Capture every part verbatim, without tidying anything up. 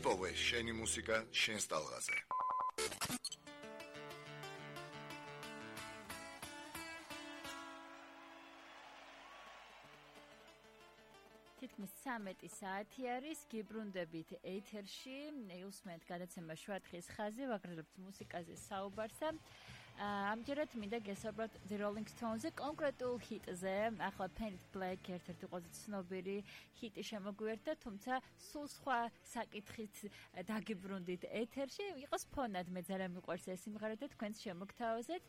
იპოვე შენი მუსიკა შენს ტალღაზე. თითქმის ცამეტი საათი არის, გიბრუნდებით ეთერში, უსმენთ გადაცემა შვათხის ხაზი, ვაგრძელებთ მუსიკაზე საუბარსა. ამჯერად მინდა გესაუბროთ The Rolling Stones-ზე, კონკრეტულ ჰიტზე, ახლა Paint Black ერთ-ერთი ყველაზე ცნობილი ჰიტი შემოგვიერთდა, თუმცა სულ სხვა საკითხით დაგიბრუნდით ეთერში, იყოს ფონად, მე ძალიან მიყვარს ეს სიმღერა და თქვენს შემოგთავაზეთ.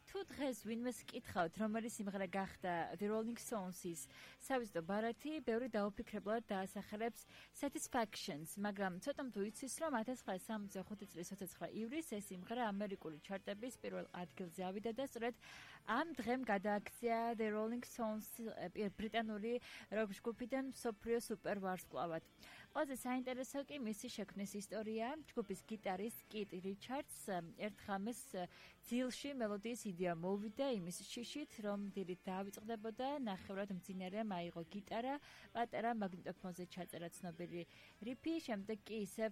თუ დღეს ვინმეს კითხავთ, რომელი სიმღერა გახდა The Rolling Stones-ის სავიზიტო ბარათი, ბევრი დაუფიქრებლად დაასახელებს Satisfactions, მაგრამ ცოტა თუ იცის, რომ ათას ცხრაასი სამოცდახუთი წლის ოცდაცხრა ივლისს ეს სიმღერა ამერიკული ჩარტების პირველ ადგილზე ავიდა და სწორედ ამ დღემ გადააქცია The Rolling Stones ბრიტანული როკ ჯგუფიდან მსოფლიო სუპერ ვარსკვლავად. ყველაზე საინტერესო კი მისი შექმნის ისტორია. ჯგუფის გიტარისტ კით რიჩარდს ერთხამეს ძილში მელოდიის იდეა მოვიდა იმის შიშით, რომ დილით დაავიწყდებოდა, ნახევრად მძინარე მაიღო გიტარა, პატარა მაგნიტოფონზე ჩაწერა ცნობილი რიფი, შემდეგ კი ისევ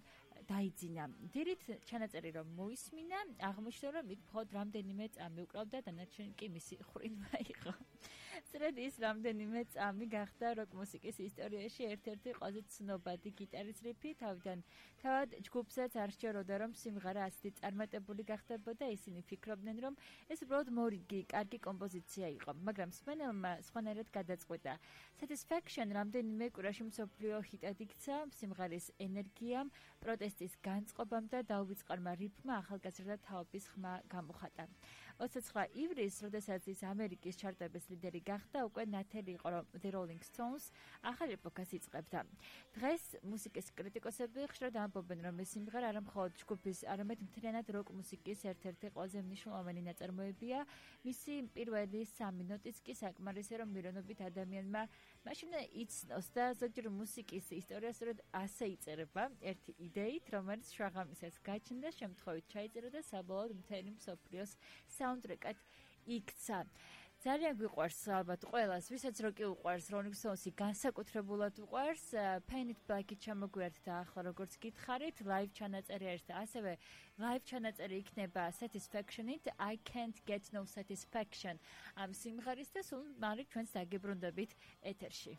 დაიძინა. დილით ჩანაწერი რომ მოისმინა, აღმოჩნდა რომ იქ მხოლოდ რამდენიმე წამი უკრავდა, დანარჩენი კი მისი ხრინვა იყო. სწორედ ის რამდენიმე წამი გახდა როკ მუსიკის ისტორიაში ერთ-ერთი ყველაზე ცნობადი გიტარის რიფი, თავიდან თავად ჯგუფსაც არ სჯეროდა რომ სიმღერა ასეთი წარმატებული გახდებოდა, ისინი ფიქრობდნენ რომ ეს უბრალოდ მორიგი, კარგი კომპოზიცია იყო, მაგრამ მსმენელმა სხვანაირად გადაწყვიტა. Satisfaction რამდენიმე კვირაში მსოფლიო ჰიტად იქცა, სიმღერის ენერგიამ, პროტესტის განწყობამ და დაუვიწყარმა რიფმა ახალგაზრდა თაობის ხმა გამოხატა. ოცდაცხრა ივლისს, როდესაც ის ამერიკის ჩარტების ლიდერი გახდა, უკვე ნათელი იყო, რომ The Rolling Stones ახალ ეპოქას იწყებდა. დღეს მუსიკის კრიტიკოსები ხშირად ამბობენ, რომ ეს სიმღერა არა მხოლოდ ჯგუფის, არამედ მთლიანად როკ მუსიკის ერთ-ერთი ყველაზე მნიშვნელოვანი ნაწარმოებია. მისი პირველი სამი ნოტიც კი საკმარისი, რომ მილიონობით ადამიანმა მაშინ იცნოს და ზოგჯერ მუსიკის ისტორია სწორედ ასე იწერება, ერთი იდეით, რომელიც შუაღამისას გაჩნდა, შემთხვევით ჩაიწერა და საბოლოოდ მთელი მსოფლიოს საუნდტრეკად იქცა. ძალიან გვიყვარს ალბათ ყველას, ვისაც როკი უყვარს, Rolling Stones-ი განსაკუთრებულად უყვარს, Paint Black-ით ჩამოგვიერთდა ახლა როგორც გითხარით, live ჩანაწერი არის და ასევე live ჩანაწერი იქნება Satisfaction-ით, I Can't Get No Satisfaction ამ სიმღერის და სულ მალე ჩვენს დაგიბრუნდებით ეთერში.